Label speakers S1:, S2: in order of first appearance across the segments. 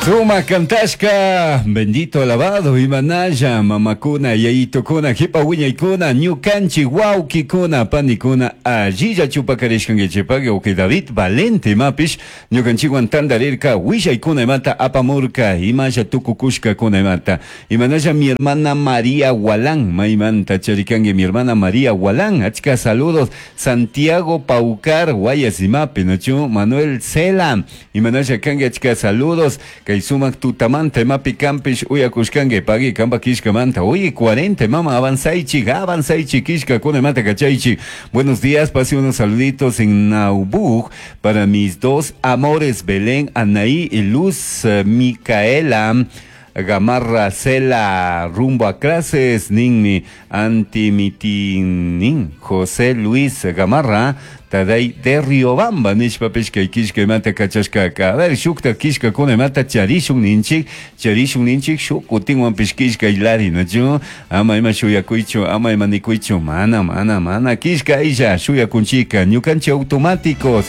S1: Suma cantashka, bendito alabado, imanalla, mamakuna, yayitokuna, jipa wiñaykuna, ñukanchik wawkikuna, panikuna, allilla chupakarishkankichikpaq, wawqi David Valente imapish ñukanchikwan tantarirka, willaykuna imata apamurka, imalla tukukushkakuna imata. Imanalla mi hermana María Gualán, maymanta charikanki mi hermana María Gualán, achka saludos, Santiago Paucar, Guayas imapi, ¿nachu? Manuel Cela, imanalla kanki achka saludos, kay sumak tutamanta imapi kampish uyakushkanki, pagui kampa kishkamanta, oye 40 mama, avanzaychik, avanzaychik, kishkakuna imata kachaychik. Buenos días, pase unos saluditos en Naubug para mis dos amores, Belén, Anaí y Luz Micaela Gamarra Cela, rumbo a clases, ninmi antimitinin José Luis Gamarra, Taday de Riobamba, nishpapish kay kishka imata kachashkaka. A ver, shukta kishkakuna imata charishun ninchik, charishun ninchik, shuk kutinwanpish kishka ilari, nachu? Ama ima shuyakuychu, ama ima nikuychu, mana, mana, mana, kishka illa, shuyakunchika, ñukanchik automáticos,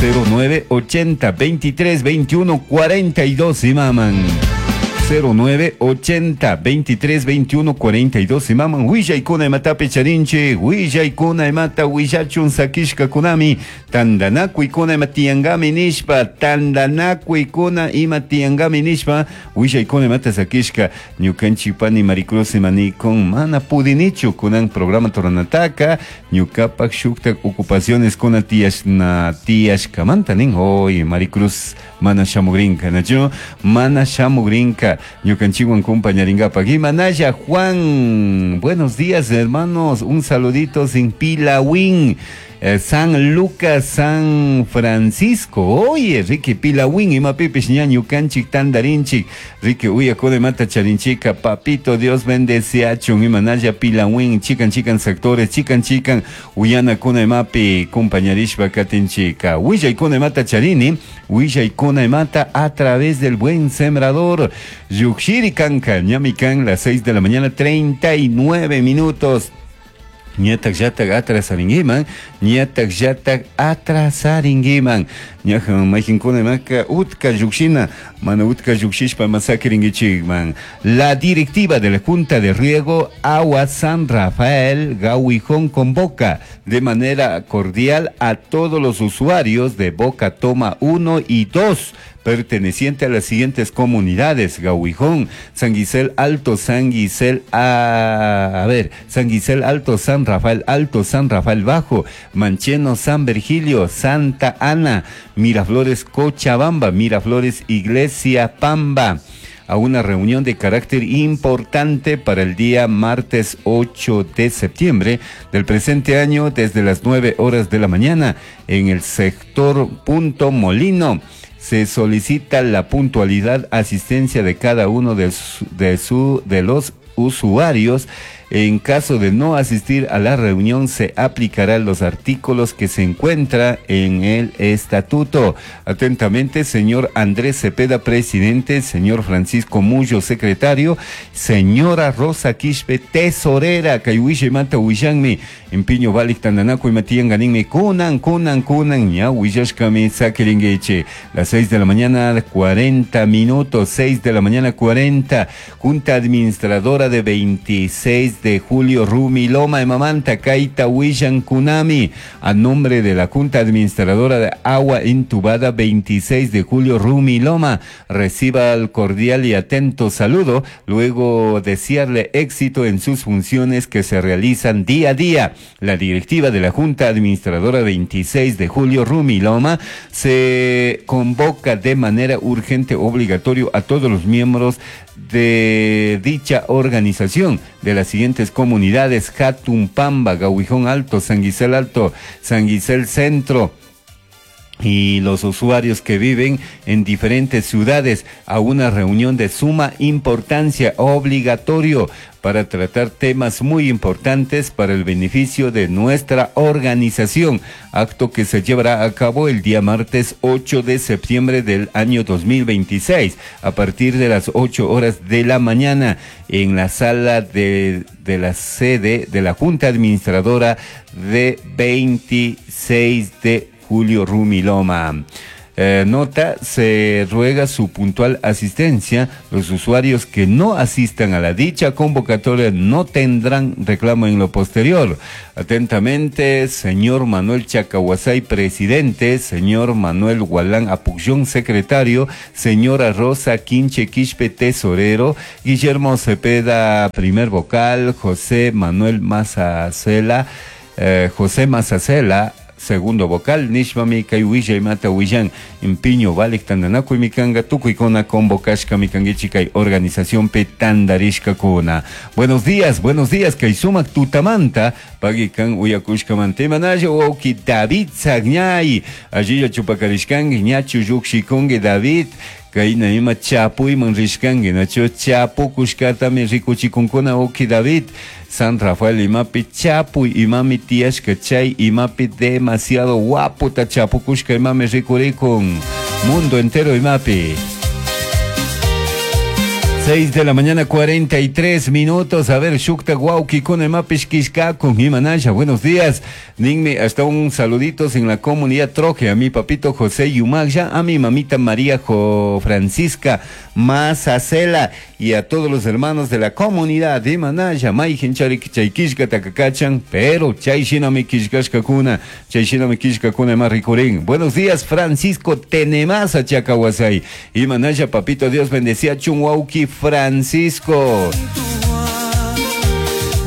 S1: 09 80 23 21 42, imaman. 09 80 23 21 42 imaman willaykuna imatapi charinchik, willaykuna imata willachun sakishkakunami, tantanakuykuna ima tiyankami nishpa, tantanakuykuna ima tiyankami nishpa, willaykuna imata sakishka, ñukanchik pani Maricruz imanikun, mana pudinichu kunan programa turanataka, ñukapak shuktak ocupaciones kuna tiyashna tiyashkamanta nin, oy Maricruz mana shamugrinka, nachu? Mana shamugrinka, ñukanchikwan compañarinkapak. Imanalla Juan, buenos días hermanos, un saludito sin Pilawin, San Lucas, San Francisco. Oye, Ricky Pilawin, imapipish ña ñukanchik tandarinchik, Ricky uyakuna imata charinchika, papito Dios bendeciachun, imanalla Pilawin, chikan chikan sectores, chikan chikan uyanakuna imapi compañarishpa katinchika. Willaykuna imata charini, willaykuna imata a través del buen sembrador, Yukshiri kanka, ñami kan, las 6 de la mañana, 39 minutos. Ñatak llatak atrasaringuiman, ñatak llatak atrasaringuiman. Ñaja mayqinkuna imaka utka llukshina, mana utka llukshishpa masakiringuichikman. La directiva de la Junta de Riego Agua San Rafael Gahuijón convoca de manera cordial a todos los usuarios de Boca Toma 1 y 2 perteneciente a las siguientes comunidades: Gahuijón, San Guisel Alto, San Guisel, a ver, San Guisel Alto, San Rafael Alto, San Rafael Bajo, Mancheno, San Virgilio, Santa Ana, Miraflores, Cochabamba, Miraflores, Iglesia Pamba, a una reunión de carácter importante para el día martes 8 de septiembre del presente año desde las 9 horas de la mañana en el sector Punto Molino. Se solicita la puntualidad, asistencia de cada uno de los usuarios. En caso de no asistir a la reunión, se aplicarán los artículos que se encuentran en el estatuto. Atentamente, señor Andrés Cepeda, presidente, señor Francisco Mullo, secretario, señora Rosa Quispe, tesorera, Kayuishe Mata Huillanmi, Empiño Balik Tandanaco y Matían Ganinmi, Kunan, Kunan, Kunan, ya Huillashkami, Sakiringueche. Las 6 de la mañana, 40 minutos, 6 de la mañana, 40, Junta Administradora de 26 de julio, Rumiloma de Mamanta, Kaita Huillan Kunami, a nombre de la Junta Administradora de Agua Entubada 26 de julio, Rumiloma, reciba el cordial y atento saludo, luego desearle éxito en sus funciones que se realizan día a día. La directiva de la Junta Administradora 26 de julio, Rumiloma, se convoca de manera urgente obligatorio a todos los miembros de dicha organización de las siguientes comunidades: Jatumpamba, Gahuijón Alto, San Guisel Alto, San Guisel Centro, y los usuarios que viven en diferentes ciudades, a una reunión de suma importancia obligatorio para tratar temas muy importantes para el beneficio de nuestra organización, acto que se llevará a cabo el día martes 8 de septiembre del año 2026, a partir de las 8 horas de la mañana, en la sala de la sede de la Junta Administradora de 26 de julio, Rumiloma. Nota, se ruega su puntual asistencia. Los usuarios que no asistan a la dicha convocatoria no tendrán reclamo en lo posterior. Atentamente, señor Manuel Chacahuasay, presidente, señor Manuel Gualán Apucción, secretario, señora Rosa Quinche Quispe, tesorero, Guillermo Cepeda, primer vocal, José Manuel Mazacela, José Mazacela, segundo vocal, nishpami kay willaymata willan impiño valik tandanakuymi kanka tukuykuna convocashkami kankichik kay organizacionpi tandarishkakuna. Buenos días, buenos días, kay sumak tutamanta pagui kan uyakushkamanta. Imanalla wawki David Sagñay, allilla chupakarishkanki, ñachu llukshikunki David, kayna ima chapuyman rishkanki, nachu chapukushkatami rikuchikunkuna wawki David. San Rafael imapi chapuy imami tiyashka, chay imapi demasiado guaputa chapukushka imami rikurikun mundo entero imapi. 6 de la mañana, 43 minutos. A ver, shukta wawkikuna imapish kishkakun imanalla. Buenos días. Ninmi, hasta un saluditos en la comunidad Troje. A mi papito José Yumagya, a mi mamita María Francisca Mazacela y a todos los hermanos de la comunidad de Manaya. Mayjin charik chay kishka takakachan, pero chay shinami kishkashkakuna, chay shinami kishkakuna ima rikurin. Buenos días, Francisco Tenemasa Chacahuasay. Imanalla, papito Dios bendecía chun wawki Francisco.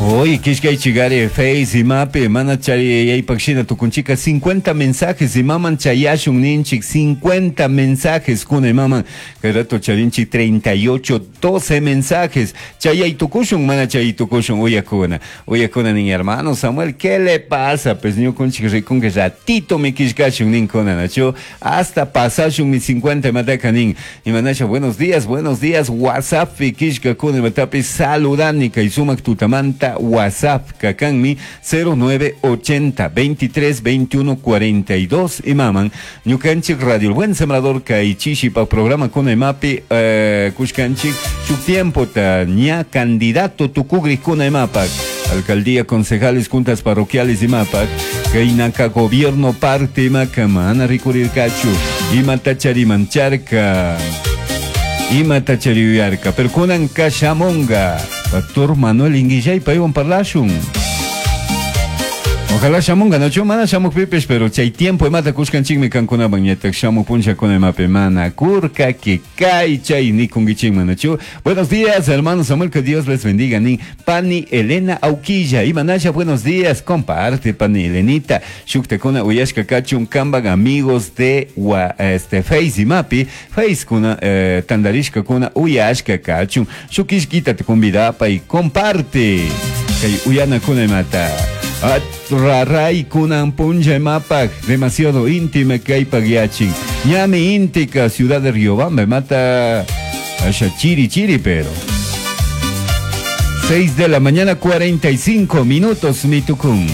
S1: Hoy kishkay chigare Face imapi mana chari yaypakshina tukunchika 50 mensajes imaman chayashun ninchik 50 mensajes kuna imaman kay rato charinchik 38 12 mensajes chayay tukushun mana chay tukushun uyakuna uyakuna nin hermano Samuel, ¿qué le pasa? Pues ñukunchik rikunki ratito mi kishkashun ninkuna nachu hasta pasashun mi 50 imataka nin imanasha. Buenos días, buenos días, WhatsApp kishkakuna imatapi saludani kay sumak tutamanta. WhatsApp kakanmi 0980 23 21 42 imaman ñukanchik Radio El Buen Sembrador kay chishipak programa kuna imapi kushkanchik shuk tiempo ta ña candidato tukugri kuna imapak alcaldía, concejales, juntas parroquiales imapak kaynaka gobierno parte imaka mana rikurirkachu imata charimancharka imata chariyarka, pero kunan kashamunga Doctor Manuel Inguillay paywan parlashun. Ojalá shamunga, no mana shamuk pipis, pero chay tiempo imata kushkanchikmi kankunaman ñatak shamuk punchakuna imapi mana kurka que kay chay nikunkichikman, nachu. Buenos días, hermano Samuel, que Dios les bendiga, nin Pani Elena Auquilla, imanasha, buenos días, comparte Pani Elenita, shuktakuna uyashka kachun kamban amigos de Face imapi, Face kuna tandarishka kuna uyashka kachun, shukishkita te convidapa y comparte, kay uyana kuna imata. Raray kunan puncha imapak, demasiado íntima kay pagyachin. Ñami íntica, ciudad de Riobamba, mata asha chiri chiri, pero. 6 de la mañana, 45 minutos, mitucún.